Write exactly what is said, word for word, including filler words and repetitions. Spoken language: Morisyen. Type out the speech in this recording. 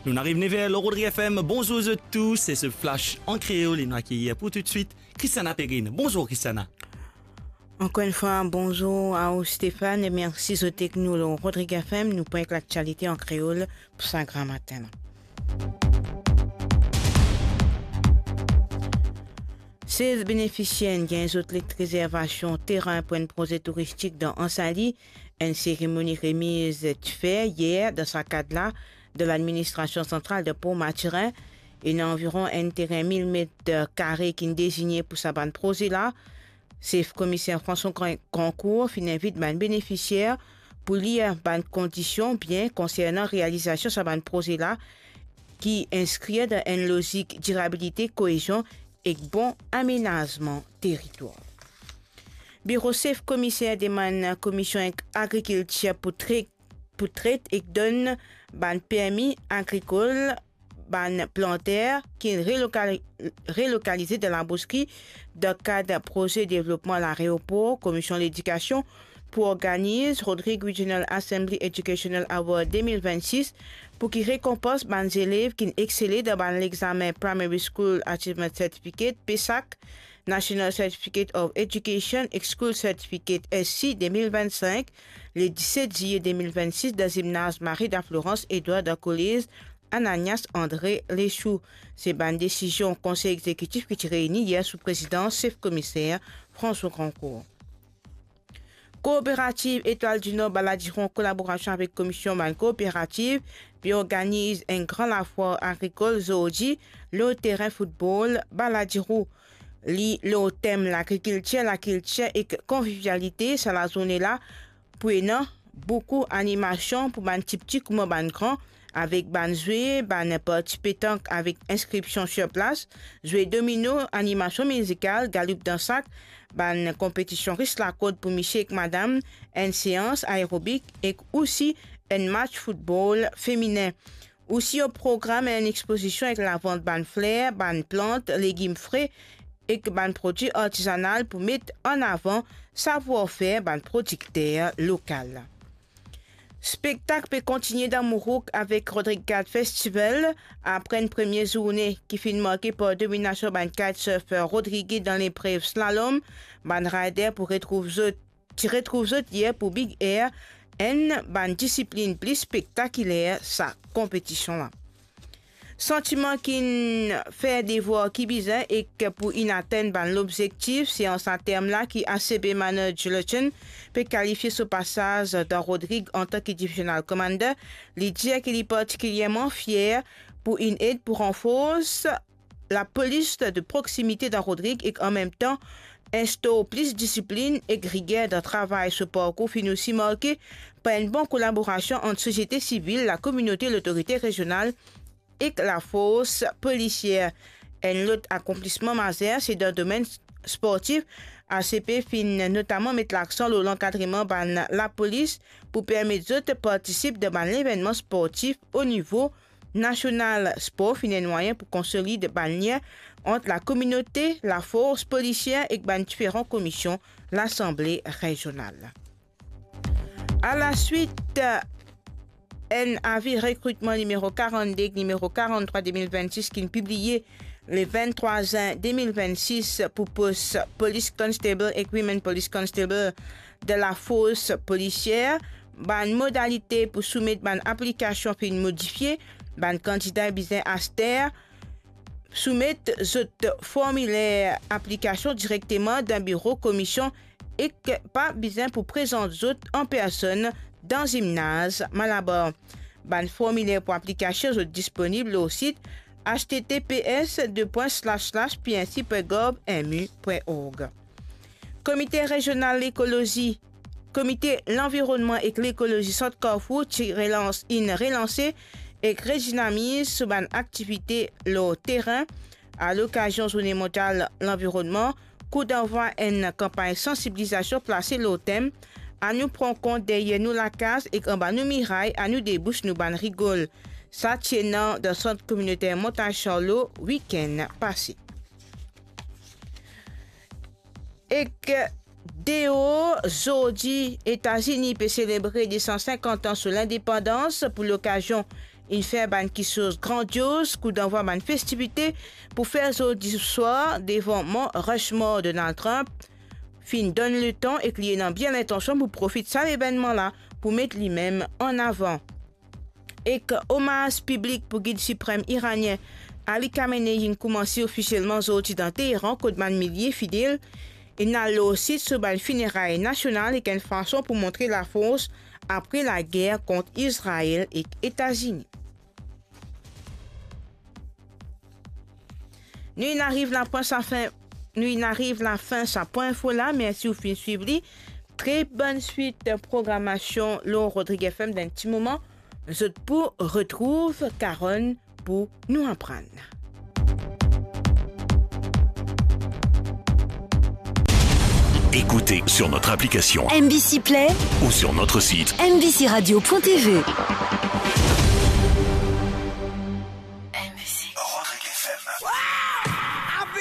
Nou ariv nef er lor Rodrig F M. Bonzour zot tou, se se flash an kreol e nou akeyir pou toutswit Christiana Perrine. Bonzour Christiana. Ankor enn fwa, bonzour a ou Stéphane e mersi zot ek nou lor Rodrig F M. Nou pran ek laktialite an kreol pou sa gramatin la. Sez benefisier inn gagn zot let rezervasion terin pou enn proze touristik dan Anse Ali. Enn seremoni remiz ti fer yer dan sa kad la dan ladministrasion santral de Port Mathurin. Ena anviron enn terin mil met kare ki'nn dezigne pou sa bann proze la. Sef Komiser François Gran-, Grancourt finn invit bann benefisier pou lir bann kondision bien konsernan realizasion sa bann proze la ki inskrir dan enn lozik dirabilite, koezion ek bon amenazman teritwar. Biro Sef Komiser demann Komisie Agrikiltir pou tre-, pou tret ek donn bann permi agrikol bann planter ki relokali-, relokalize dan Labouskri dan kad proze devlopman laeropor. Komisie Ledikasion pou organiz Rodrig Regional Assembly Educational Award de mil vennsis pou ki rekonpans bann zelev ki'nn exele dan bann lexamen Primary School Achievement Certificate, PESAC, National Certificate of Education ek School Certificate, S C, de mil vennsink, le diset zilie de mil vennsis, dan zimnaz Marie de la Florence Edouard dan kolez Ananias André Leshoux. Se bann desizion Konsey Egzekitif ki ti reini yer sou prezidans Sef Komiser François Grancourt. Kooperativ Etoile du Nord Baladiro, an kolaborasion avek Komisie bann kooperativ, pe organiz enn gran lafwar agrikol zordi lor terin foutbol Baladiro. Li lor tem lagrikiltir, lakiltir ek konvivialite. Sa lazourne la pou ena boukou animasion pou bann tipti kouma bann gran, avek bann zwe, bann parti petank avek inskripsion sir plas, zwe domino, animasion mizikal, galoup dan sak, bann konpetision ris lakord pou misie ek madam, enn seans aerobik ek osi enn match foutbol feminen. Osi o program enn expozision ek lavant bann fler, bann plant, legim fre ek bann prodwi artizanal pou met an avan savwar-fer bann prodikter lokal. Spektak pe kontigne dan Mourouk avek Rodrig Gad Festival. Apre enn premie zourne ki finn marke par dominasion bann kitesurfer rodrigez dan leprev slalom, bann rider pou retrouv zot, ti retrouv zot yer pou Big Air, enn bann disiplinn pli spektakiler sa konpetision la. Santiman ki'nn fer devwar ki bizin ek pou inn atenn bann lobzektif, se an sa term la ki A C P Manoj Lochen pe kalifie so pasaz dan Rodrig antan ki Divisional Commander. Li dir ki li partikilierman fier pou inn ed pou ranfors lapolis de proksimite dan Rodrig ek anmemtan instor plis disiplinn ek riger dan travay. So parkour finn osi marke par enn bon kolaborasion ant sosiete sivil, lakominote, lotorite rezional ek lafors polisier. Enn lot akonplisman mazer se dan domenn sportif. A C P finn notaman met laksan lor lankadreman bann lapolis pou permet zot partisip dan bann levennman sportif o nivo nasional. Spor finn enn mwayin pou konsolid bann lien ant lakominote, lafors polisier ek bann diferan komisyon Lasanble Rezional. A la swit, enn avi rekritman nimero karannde ek nimero karanntrwa de mil vennsis ki'nn pibliye le venntrwa zin de mil vennsis pou pos Police Constable ek Women Police Constable de lafors polisier. Bann modalite pou soumet bann aplikasion finn modifie. Bann kandida bizin aster soumet zot formiler aplikasion direkteman dan biro komisyon ek pa bizin pou prezant zot an personn dan zimnaz Malabar. Bann formiler pou aplikasion zot disponib lor sit H T T P S deux points slash slash P N C point gov M U point org. Komite Rezional Lekolozi, Komite Lanvironnman ek Lekolozi Sant Carrefour ti relans, inn relanse ek redinamiz so bann aktivite lor terin a lokazion Zourne Mondyal Lanvironnman. Kou danvwa enn kanpagn sansibilizasion plase lor tem "Anou pran kont deryer nou lakaz ek anba nou miray, anou debous nou bann rigol." Sa ti ena dan Sant Kominoter Montagne Charlot wikenn pase. Ek deor, zordi, Etazini pe selebre de san sinkant an so lindepandans. Pou lokazion, inn fer bann kiksoz grandioz, kout danvwa bann festivite pou fer zordi swar devan Mont Rushmore. Donald Trump finn donn letan ek li ena bien lintansion pou profit sa levennman la pou met limem an avan. Ek omaz piblik pou gid siprem iranien Ali Khamenei inn koumanse ofisielman zordi dan Teheran, kot bann milie fidel inn al lor sit so bann fineray nasional ek enn fason pou montre lafors apre lager kont Izrael ek Etazini. Nou inn ariv lapwin sa fin, nou inn ariv lafin sa pwin info la. Mersi ou finn swiv li. Tre bonn swit programasion lor Rodrig F M. Dan ti moman, zot pou retrouv Karonn pou nou aprann. Écoutez sur notre application M B C Play ou sur notre site M B C radio point T V. M B C. Rodrig F M.